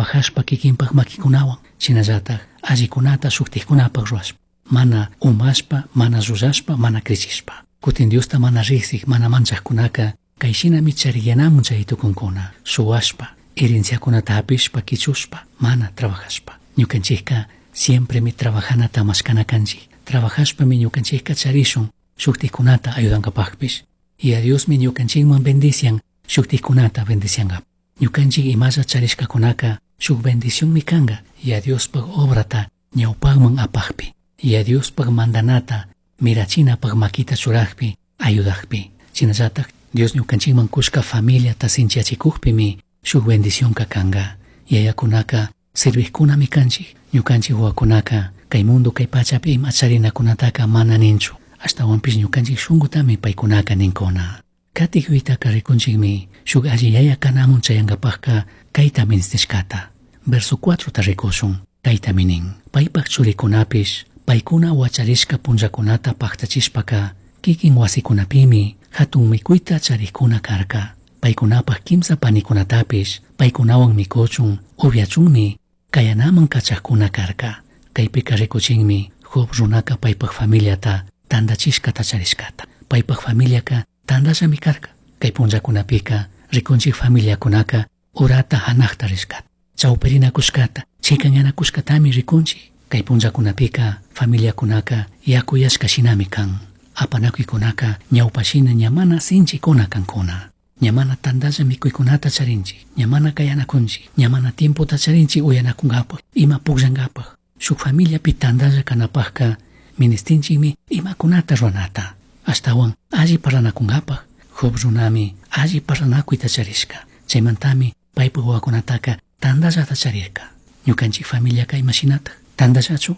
Trabajashpa kikinpak makikunawan, shinallatak allikunata shuktikkunapak ruwashpa, mana umashpa, mana llullashpa, mana crichishpa. Kutin Diosta mana riksik, mana manchakkunaka kay shinami chariyanamun chay tukunkuna, shuwashpa, herenciakunata hapishpa, kichushpa, mana trabajashpa. Ñukanchikka siempremi trabajanata mashkana kanchik. Trabajashpami ñukanchikka charishun shuktikkunata ayudankapakpish. Y a Diosmi ñukanchikman bendician, shuktikkunata bendiciankapa. Ñukanchik imalla charishkakunaka shuk bendicionmi kanka y a Diospaj obrata ñawpakman apakpi. Y a Diospaj mandanata mirachinapak makita churakpi, ayudakpi. Shinallatak Dios ñukanchikman kushka familiata sinchiyachikukpimi shuk bendicionka kanka. Yayakunaka sirvijkunami kanchik. Ñukanchik wawakunaka kay mundo kay pachapi ima charinakunataka mana ninchu. Ashtawanpish ñukanchik shunkutami paykunaka ninkuna. Katik yuytaka rikunchikmi shuk alli yaya kanamun chayankapakka kayta ministishkata. Verso 4 ta rikushun, kaytami nin. Paypak churikunapish paykuna wacharishka punllakunata paktachishpaka kikin wasikunapimi hatun mikuyta charikuna karka. Paykunapak kimsa panikunatapish paykunawan mikuchun upyachunmi kayanaman kachakuna karka. Kaypika rikuchinmi Job runaka paypak familiata tandachishkata charishkata. Paypak familiaka tandallami karka. Kay punllakunapika rikunchik familiakunaka urata hanakta rishkata. Chawpirinakushkata, chikanyanakushkatami rikunchik. Kay punllakunapika familiakunaka yakuyashka shinami kan. Apanakuykunaka ñawpashina ña mana sinchikuna kankuna. Ña mana tandalla mikuykunata charinchik, ña mana kayanakunchik, ña mana tiempota charinchik uyanakunkapak, ima pukllankapak. Shuk familiapi tandalla kanapakka ministinchikmi imakunata ruranata. Ashtawan alli parlanakunkapak, Job runami alli parlanakuyta charishka. Chaymantami paypak wawakunataka tandallata charirka. Ñukanchik familiaka imashinatak? Tandallachu?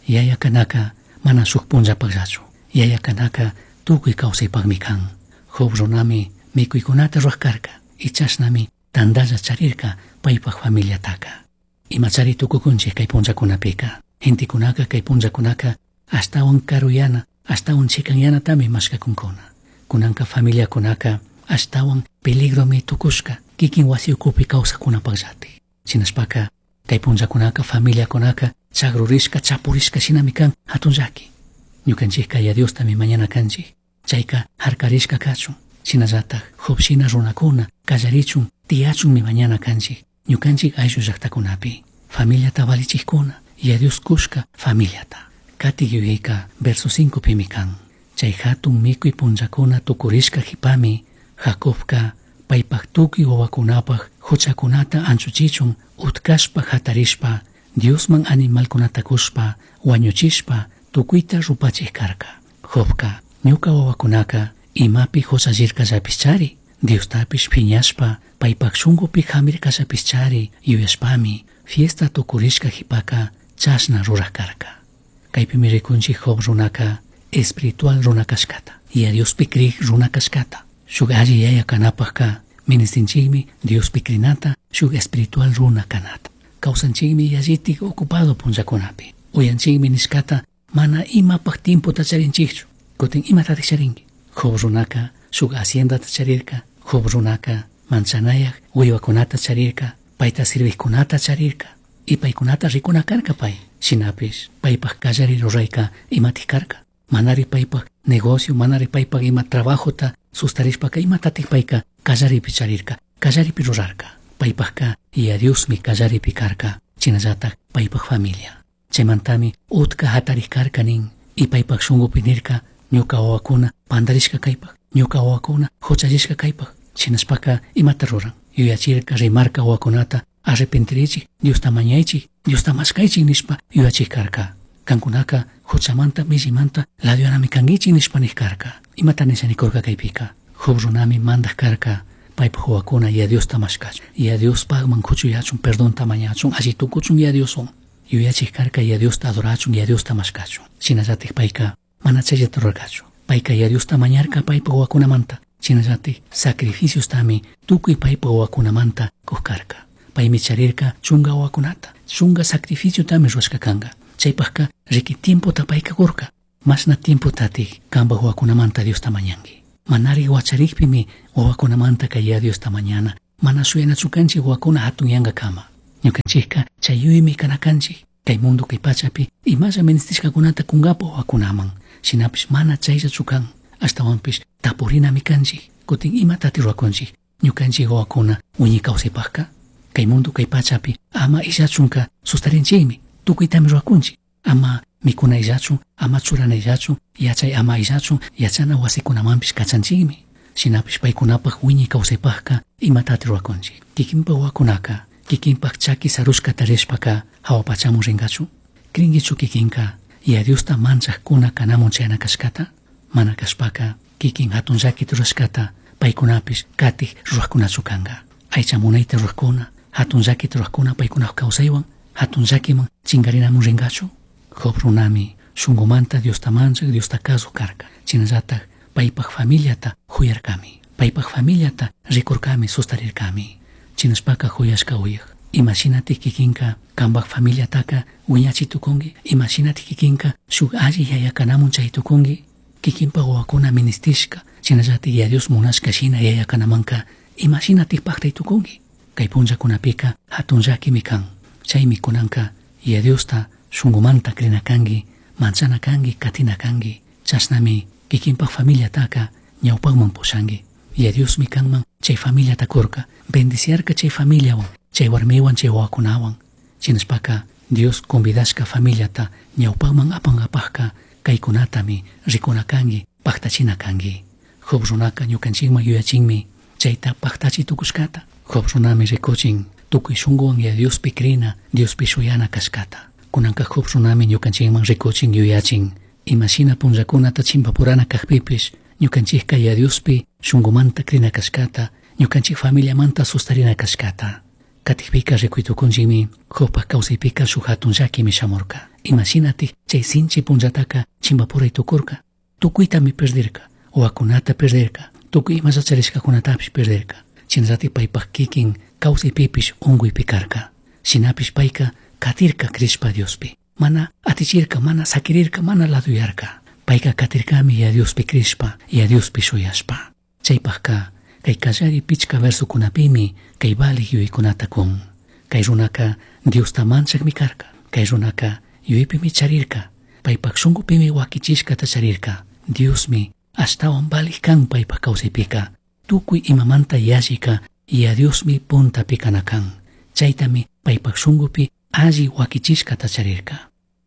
Yaya kanaka mana shuk punllapakllachu. Yaya kanaka tukuy kawsaypakmi kan. Job runami mikuykunata ruwak karka. Y chashnami tandalla charirka paypak familiataka. Imachari tukukunchik kay punllakunapika. Gentekunaka kay punllakunaka ashtawan karuyana, ashtawan chikanyanatami mashkakunkuna. Kunanka familiakunaka ashtawan peligromi tukushka kikin wasi ukupi kawsakunapakllatik. Shinashpaka kay punllakunaka familiakunaka chagrurishka chapurishka shinami kan hatun llaki. Ñukanchikka ya Diostami mañana kanchik. Chayka harkarishka kachun. Shinallatak Job shina runakuna kallarichun tiyachunmi mañana kanchik. Ñukanchik ayllu llaktakunapi. Familiata valichikkuna ya Dios kushka familiata. Katik yuyayka verso 5 pimi kan. Chay hatun mikuy punllakuna tukurishka jipami Jacobka paypak tukuy wawakunapak huchakunata anchuchichun utkashpa hatarishpa Diosman animalkunata kushpa wañuchishpa tukuyta rupachik karka. Jobka ñuka wawakunaka imapi huchallirkallapishchari Diostapish phiñashpa paypak shunkupi hamirkallapishchari yuyashpami fiesta tukurishka jipaka chashna rurak karka. Kaypimi rikunchik Job runaka espiritual runa kashkata y a Diospi krik runa kashkata. Shuk alli yaya kanapakka ministinchikmi Diospi krinata shuk espiritual runa kanata. Kawsanchikmi yallitik ocupado punllakunapi. Uyanchikmi nishkata mana imapak tiempota charinchikchu. Kutin imatatik charinki. Job runaka shuk haciendata charirka. Job runaka manchanayak wiwakunata charirka. Payta sirvijkunata charirka. Y paykunata rikuna karka pay. Shinapish paypak kallari rurayka imatik karka. Manari paypak negocio, manari paypak ima trabajota sustarishpaka imatatik payka kallaripi charirka, kallaripi rurarka. Paypakka ya Diosmi kallaripi karka, shinallatak paypak familia. Chaymantami utka hatarik karka nin y paypak shunkupi nirka ñuka wawakuna pandarishka kaypak, ñuka wawakuna huchallishka kaypak. Shinashpaka imata ruran. Yuyachirka rimarka wawakunata arrepentirichik, Diosta mañaychik, Diosta mashkaychik nishpa yuyachik karka. Kankunaka huchamanta millimanta ladyanami kankichik nishpa nik karka. Imata nisha nikurka kaypika. Job runami mandak karka paypak wawakuna ya Diosta mashkachun, ya Diospakman kuchuyachun, perdonta mañachun, alli tukuchun ya Dioswan. Yuyachik karka ya Diosta adorachun, ya Diosta mashkachun. Shinallatik payka mana chayllata rurarkachu. Payka ya Diosta mañarka paypak wawakunamanta. Shinallatik sacrificiostami tukuy paypak wawakunamanta kuk karka. Paymi charirka chunka wawakunata, chunka sacrificiotami rurashka kanka. Chaypakka riki tiempota payka kurka. Mashna tiempotatik kanpak wawakunamanta Diosta mañanki. Manari wacharikpimi wawakunamanta kay ya Diosta mañana. Mana shuyanachu kanchik wawakuna hatunyankakama. Ñukanchikka chay yuymi kana kanchik. Kay mundo kay pachapi imalla ministishkakunata kunkapa wawakunaman. Shinapish mana chayllachu kan. Ashtawanpish tapurinami kanchik. Kutin imatati rurakunchik ñukanchik wawakuna wiñay kawsaypakka. Kay mundo kay pachapi ama illachunka sustarinchikmi. Tukuytami rurakunchik. Ama mikuna illachun, ama churana illachun, yachay ama illachun, yachana wasikunamanpish kachanchikmi. Shinapish paykunapak wiñay kawsaypakka imatati rurakunchik. Kikinpak wawakunaka, kikinpak chaki sarushkata rishpaka hawa pachamun rinkachu. Crinkichu kikinka Yaya Diosta manchajkuna kanamun chayana kashkata? Mana kashpaka kikin hatun llakita rurashkata paykunapish katik rurajkunachu kanka. Aycha munayta rurajkuna, hatun llakita rurajkuna paykunapak kawsaywan hatun llakiman chinkarinamun rinkachu. Job runami shunkumanta Diosta manchak, Diosta kazuk karka. Shinallatak paypak familiata juyarkami. Paypak familiata rikurkami, sustarirkami. Shinashpaka juyashka uyak. Imashinatik kikinka kanpak familiataka wiñachi tukunki? Imashinatik kikinka shuk alli yaya kanamun chay tukunki? Kikinpak wawakuna ministishka, shinallatik Yaya Dios munashka shina yaya kanamanka imashinatik paktay tukunki? Kay punllakunapika hatun llakimi kan. Chaymi kunanka Yaya Diosta shunkumanta crina kanki, manchana kanki, katina kanki. Chashnami kikinpak familiataka ñawpakman pushanki. Yaya Diosmi kanman chay familiata kurka, bendiciarka chay familiawan, chay warmiwan, chay wawakunawan. Shinashpaka Dios convidashka familiata ñawpakman apankapakka kaykunatami rikuna kanki, paktachina kanki. Job runaka ñukanchikman yuyachinmi chayta paktachi tukushkata. Job runami rikuchin tukuy shunkuwan Yaya Diospi crina, Diospi shuyana kashkata. Kunanka Job runami ñukanchikman rikuchin yuyachin imashina punllakunata chimpapurana kakpipish ñukanchikka Yaya Diospi shunkumanta crina kashkata, ñukanchik familiamanta sustarina kashkata. Katikpika rikuy tukunchikmi Jobpak kawsaypika shuk hatun llakimi shamurka. Imashinatik chay sinchi punllataka chimpapuray tukurka. Tukuytami perdirka, wawakunata perdirka, tukuy imalla charishkakunatapish perdirka. Shinallatik paypak kikin kawsaypipish unkuypi karka. Shinapish payka katirka crishpa Diospi. Mana atichirka, mana sakirirka, mana laduyarka. Payka katirkami Yaya Diospi crishpa, Yaya Diospi shuyashpa. Chaypakka kay kallari pichka versokunapimi kay valik yuyaykunata kun. Kay runaka Diosta manchakmi karka. Kay runaka yuyaypimi charirka. Paypak shunkupimi wakichishkata charirka. Diosmi ashtawan valik kan paypak kawsaypika. Tukuy imamanta yallika Yaya Diosmi puntapi kana kan. Chaytami paypak shunkupi alli wakichishkata charirka.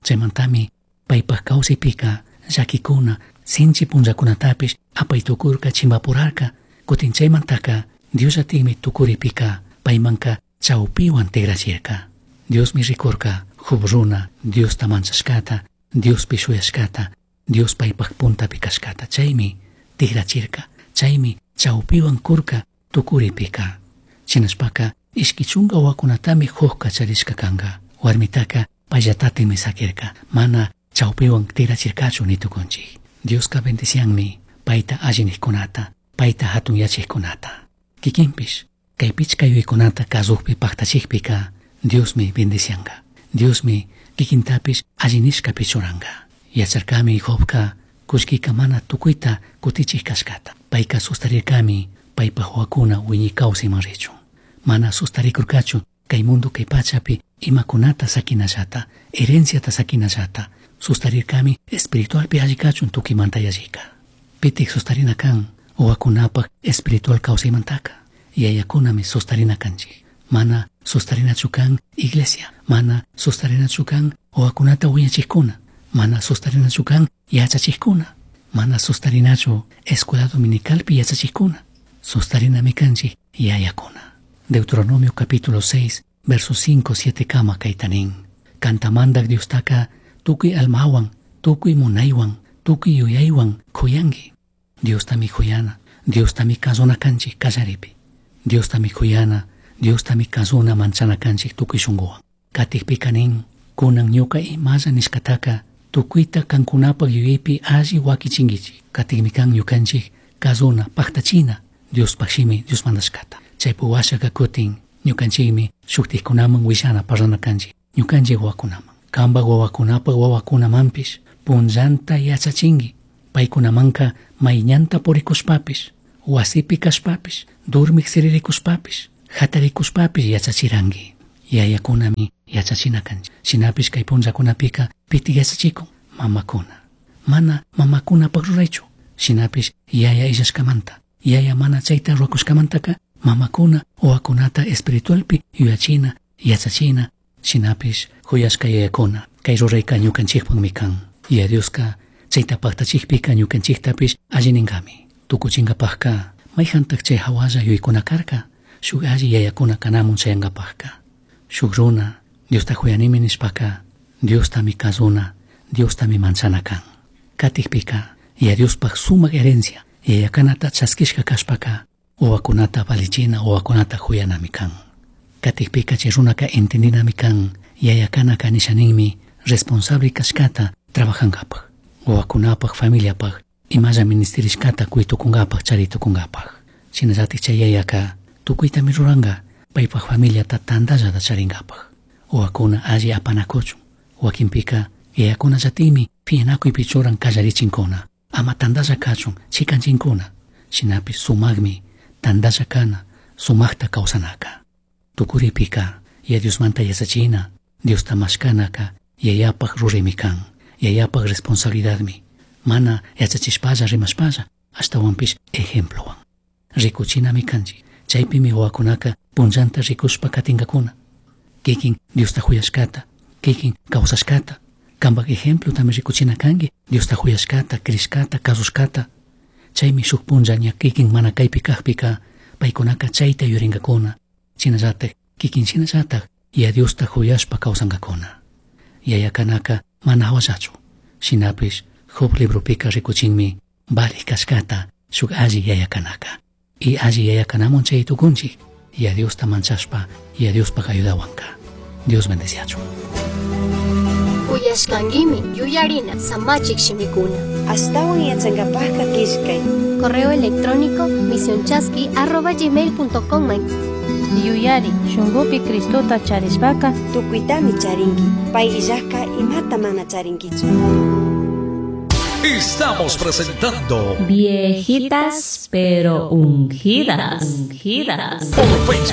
Chaymantami paypak kawsaypika llakikuna sinchi punllakunatapish apay tukurka chimpapurarka. Kutin chaymantaka Diosllatikmi tukuripika paymanka chawpiwan tigrachirka. Diosmi rikurka Job runa Diosta manchashkata, Diospi shuyashkata, Dios paypak puntapi kashkata. Chaymi tigrachirka, chaymi chawpiwan kurka tukuripika. Shinashpaka ishki chunka wawakunatami Jobka charishka kanka. Warmitaka payllatatimi sakirka, mana chawpiwan tigrachirkachu ni tukunchik. Dioska bendicianmi payta alli nijkunata, payta hatunyachikkunata. Kikinpish kay pichka yuyaykunata kasukpi paktachikpika Diosmi bendicianka. Diosmi kikintapish alli nishkapi churanka. Yacharkami Jobka kullkika mana tukuyta kutichik kashkata. Payka sustarirkami paypak wawakuna wiñay kawsayman richun. Mana sustarikurkachu kay mundo kay pachapi imakunata sakinallata, herenciata sakinallata. Sustarirkami espiritualpi alli kachun tukuymanta yallika. Pitik sustarina kan wawakunapak espiritual kawsaymantaka. Yayakunami sustarina kanchik. Mana sustarinachu kan iglesia, mana sustarinachu kan wawakunata wiñachikkuna, mana sustarinachu kan yachachikkuna, mana sustarinachu escuela dominicalpi yachachikkuna. Sustarinami kanchik yayakuna. Deuteronomio capítulo 6, versos 5, 7 kama kaytanin. Kanta mandak Diostaka tukuy almawan, tukuy munaywan, tukuy yuyaywan kuyanki. Diostami kuyana, Diostami kazuna kanchik kallaripi. Diostami kuyana, Diostami kazuna manchana kanchik tukuy shunkuwan. Katikpika nin, kunan ñuka imalla nishkataka tukuyta kankunapak yuyaypi alli wakichinkichik. Katikmi kan ñukanchik kazuna, paktachina Diospak shimi, Dios mandashkata. Chaypi washaka kutin ñukanchikmi shuktikkunaman willana parlana kanchik, ñukanchik wawakunaman. Kanpak wawakunapak wawakunamanpish punllanta yachachinki. Paykunamanka mayñanta purikushpapish, wasipi kashpapish, durmik siririkushpapish, hatarikushpapish yachachiranki. Yayakunami yachachina kanchik. Shinapish kay punllakunapika pitik yachachikun mamakuna. Mana mamakunapaq ruraychu. Shinapish yaya illashkamanta, yaya mana chayta rurakushkamantaka mamakuna wawakunata espiritualpi yuyachina, yachachina, shinapish huyashka yayakuna kay rurayka ñukanchikpaqmi kan. Yaya Dioska chayta paktachikpika ñukanchiktapish alli ninkami. Tukuchinkapaqka mayjantaq chay hawalla yuyaykuna karka shuk alli yayakuna kanamun chayankapaqka. Shuk runa Diosta huyanimi nishpaka Diostami kazuna, Diostami manchana kan. Katikpika Yaya Diospaq sumak herencia yayakanata chaskishka kashpaka wawakunata valichina, wawakunata huyanami kan. Katikpika chay runaka entendinami kan yayakanaka nishaninmi responsable kashkata trabajankapaq, wawakunapaq, familiapaq, imalla ministerishkata kuytukunkapaq, charitukunkapaq. Shinallatik chay yayaka tukuytami ruranka paypaq familiata tantallata charinkapaq. Wawakuna alli apanakuchun. Wakinpika yayakunallatikmi piñanakuypi churan kallarichinkuna. Ama tantalla kachun, chikanchinkuna. Shinapish sumakmi tantalla kana, sumakta kawsanaka. Tukuripika Yaya Diosmanta yachachina, Diosta mashkanaka yayapaq ruraymi kan, yayapaq responsabilidadmi. Mana yachachishpalla rimashpalla, ashtawanpish ejemplowan. Rikuchinami kanchik. Chaypimi wawakunaka punllanta rikushpa katinkakuna. Kikin Diosta huyashkata, kikin kawsashkata. Kanpak ejemplotami rikuchina kanki, Diosta huyashkata, crishkata, kasushkata. Chaymi shuk punlla ña kikin mana kaypi kakpika, paykunaka chayta yurinkakuna. Shinallatak, kikin shinallatak, Yaya Diosta huyashpa kawsankakuna. Yayakanaka mana hawallachu. Shinapish Job libropika rikuchinmi valij kashkata shuk alli yayakanaka. Y alli yayakanamun chay tukunchik, Yaya Diosta manchashpa, Yaya Diospaq ayudawanka. Dios bendeciachun. Uyashkankimi yuyarina samachik shimikuna. Ashtawan yachankapajka killkay. Correo electrónico misionchaski@gmail.com. Yuyari shunkupi Cristota charishpaka tukuytami charinki. Pay illajka imata mana charinkichu. Estamos presentando Viejitas pero ungidas. Ungidas. Por Facebook.